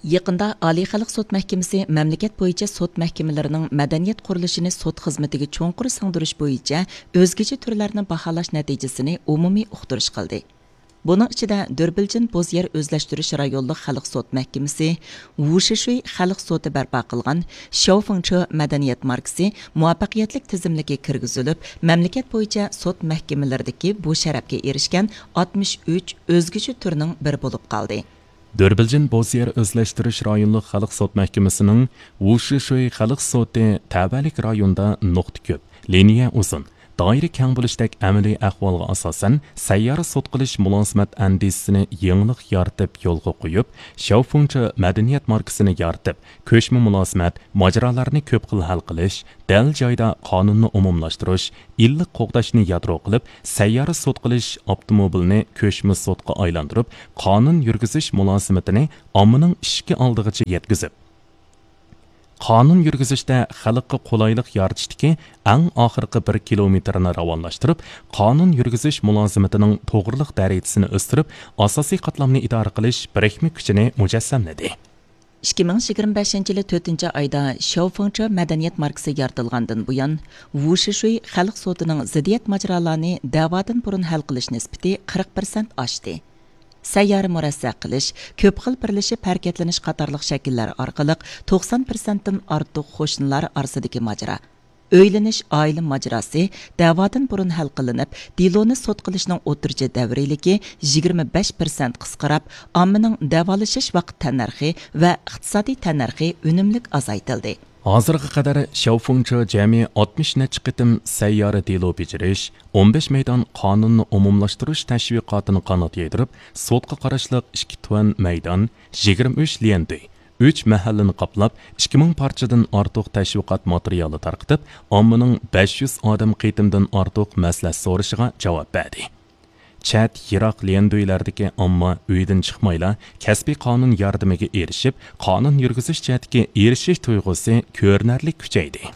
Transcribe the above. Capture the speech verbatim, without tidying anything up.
يېقىندا ئالىي خەلق سوت مەھكىمىسى مەملىكەت بويىچە سوت مەھكىمىلىرىنىڭ مەدەنىيەت قۇرۇلۇشىنى سوت خىزمىتىگە چوڭقۇر سىڭدۈرۈش بويىچە ئۆزگىچە تۈرلەرنى باھالاش نەتىجىسىنى ئومۇمىي ئۇقتۇرۇش قىلدى. بۇنىڭ ئىچىدە دۆربىلجىن بوز يەر ئۆزلەشتۈرۈش رايونلۇق خەلق سوت مەھكىمىسى، ۋۇشىشۈي خەلق سوتى بەرپا قىلغان شياۋفېڭچې مەدەنىيەت ماركىسى مۇۋەپپەقىيەتلىك تىزىملىككە كىرگۈزۈلۈپ، مەملىكەت بويىچە سوت مەھكىمىلىرىدىكى بۇ شەرەپكە ئېرىشكەن ئاتمىش ئۈچ ئۆزگىچە تۈرنىڭ بىرى بولۇپ قالدى. دۆربىلجىن بوز يەر ئۆزلەشتۈرۈش رايونلۇق خەلق سوت مەھكىمىسىنىڭ ۋۇشىشۈي خەلق سوتى تەۋەلىك رايوندا نۇقتا كۆپ، لىنىيە ئۇزۇن، دائىرە كەڭ بولۇشتەك ئەمەلىي ئەھۋالغا ئاساسەن، سەييارە سوت قىلىش مۇلازىمەت ئەندىزىسىنى يېڭىلىق يارىتىپ يولغا قويۇپ، شياۋفېڭچې مەدەنىيەت ماركىسىنى يارىتىپ، كۆچمە مۇلازىمەت ماجىرالارنى كۆپ خىل ھەل قىلىش، دەل جايدا قانۇننى ئومۇملاشتۇرۇش، ئىللىق قوغداشنى يادرو قىلىپ، سەييارە سوت قىلىش ئاپتوموبىلىنى كۆچمە سوتقا ئايلاندۇرۇپ، قانۇن يۈرگۈزۈش مۇلازىمىتىنى ئاممىنىڭ ئىشىكى ئالدىغىچە يەتكۈزۈپ، قانۇن يۈرگۈزۈشتە خەلققە قولايلىق يارىتىشتىكى ئەڭ ئاخىرقى بىر كىلومېتىرنى راۋانلاشتۇرۇپ، قانۇن يۈرگۈزۈش مۇلازىمىتىنىڭ توغرىلىق دەرىجىسىنى ئۆستۈرۈپ، ئاساسىي قاتلامنى ئىدارە قىلىش بىرىكمە كۈچىنى مۇجەسسەملىدى. ئىككى مىڭ يىگىرمە بەشىنچى يىلى تۆتىنچى ئايدا شياۋفېڭچې مەدەنىيەت ماركىسى يارىتىلغاندىن بۇيان، ۋۇشىشۈي خەلق سوتىنىڭ زىددىيەت ماجىرالارنى دەۋادىن بۇرۇن ھەل قىلىش نىسبىتى قىرىق پىرسەنت ئاشتى. سەييارە مۇرەسسە قىلىش، كۆپ خىل بىرلىشىپ ھەرىكەتلىنىش قاتارلىق شەكىللەر ئارقىلىق توقسان پىرسەنتتىن ئارتۇق قوشنىلار ئارىسىدىكى ماجىرا، ئۆيلىنىش، ئائىلە ماجىراسى دەۋادىن بۇرۇن ھەل قىلىنىپ، دېلونى سوت قىلىشنىڭ ئوتتۇرىچە دەۋرىيلىكى يىگىرمە بەش پىرسەنت قىسقىراپ، ئاممىنىڭ دەۋالىشىش ۋاقىت تەننەرخى ۋە ئىقتىسادىي تەننەرخى ئۈنۈملۈك ئازايتىلدى. ھازىرغا قەدەر شياۋفېڭچې جەمئىي ئاتمىش نەچچە قېتىم سەييارە دېلو بېجىرىش، ئون بەش مەيدان قانۇننى ئومۇملاشتۇرۇش تەشۋىقاتىنى قانات يايدۇرۇپ، سوتقا قاراشلىق ئىككى تۈەن مەيدان، يىگىرمە ئۈچ ليەندۈي، ئۈچ مەھەللىنى قاپلاپ، ئىككى مىڭ پارچىدىن ئارتۇق تەشۋىقات ماتېرىيالى تارقىتىپ، ئاممىنىڭ بەش يۈز ئادەم قېتىمدىن ئارتۇق مەسلىھەت سورىشىغا جاۋاب بەردى. چەت، يىراق ليەندۈيلەردىكى ئامما ئۆيدىن چىقمايلا، كەسپىي قانۇن ياردىمىگە ئېرىشىپ، قانۇن يۈرگۈزۈش جەھەتتىكى ئېرىشىش تۇيغۇسى كۆرۈنەرلىك كۈچەيدى.